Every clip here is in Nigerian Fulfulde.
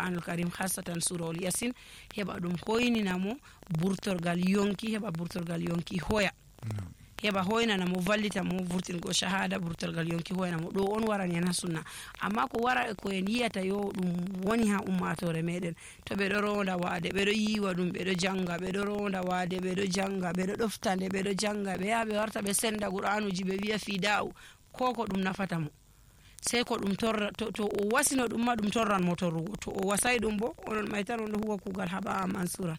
Qur'anul Karim hasatan surahul Yasin heba ɗum hoynina mo burtorgal yonki, heba burtorgal yonki hoya heba hoynana mo vallita mo vurtingo shahada burtorgal yonki hoyna mo. ɗo on warani en ha sunna. amma ko wara ko en yiyata yo ɗum woni ha ummatore meɗen, to ɓeɗo ronda wade ɓeɗo yiwa ɗum ɓeɗo janga, ɓeɗo ronda wade ɓeɗo janga, ɓeɗo ɗoftande ɓeɗo janga, ɓe yaha ɓe warta ɓe senda Qur'anuji ɓe wiya fida'u, ko ɗum nafata mo sai ko ɗum torra to o wasino ɗum ma ɗum torran mo torrugo, to o wasai ɗum bo onon mai tan on ɗo huwa kugal haba mansura.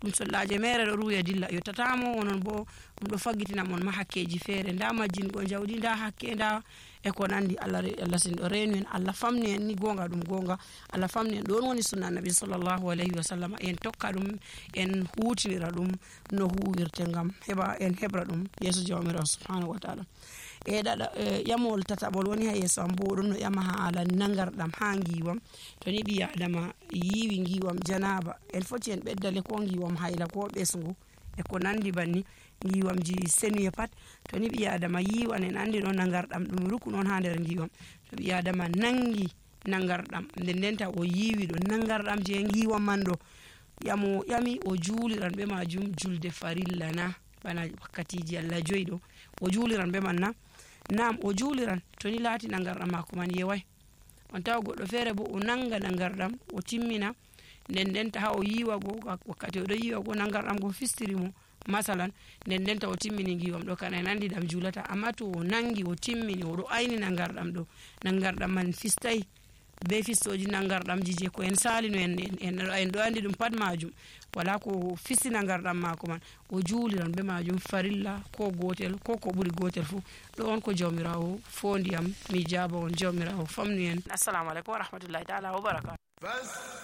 ɗum sollaje mere ɗo ruya dilla yottatamo, onon bo ɗum ɗo faggitina mon ma hakkeji feere, nda majjingo jawdi, nda hakke, nda e ko nandi. Allah sin ɗo renu en, Allah famni en ni gonga ɗum gonga, Allah famni en. ɗon woni sunna nabi sallallahu alayhi wa sallam, en tokka ɗum, en hutinira ɗum no huwirte ngam heɓa en heɓra ɗum yeso jawmirawo subhanahu wa ta'ala. Ƴamol tataɓol woni ha yeso am bo ɗon no ƴama haala nangarɗam ha ngiwam. to ni ɓi adama yiwi ngiwam janaba, en foti en ɓeddale ko ngiwam hayla ko ɓesgu e ko nandi banni, ngiwamji senuye pat. to ni ɓi adama yiwan, en andi ɗo nangarɗam ɗum rukun on ha nder ngiwam. to ɓi adama nangi nangarɗam ndendenta o yiwi ɗo nangarɗam je ngiwam man ɗo, ƴami o juliran ɓe majum julde farilla na, bana wakkatiji Allah 5 ɗo o juliran ɓe man na. Nam o juliran to ni laati nangarɗam mako man yewai. on tawa goɗɗo feere bo o nanga nangarɗam o timmina, ndendenta ha o yiwa go wakkati oɗo yiwa go nangarɗam go fistiri mo masalan, ndendenta o timmini ngiwam ɗo kana en andi ɗam julata. amma to o nangi o timmini oɗo ayni nangarɗam ɗo, nangarɗam man fistai be fistoji nangarɗamji je ko en salino en ɗo andi ɗum pat majum, wala ko fisti nangarɗam mako man, o juliran be majum farilla ko gotel ko ko ɓuri gotel fu. ɗo on ko jawmirawo fondi am mi jaba on, jawmirawo famnu en. assalamu alaikum wa rahmatullahi ta'ala wa barakatuh.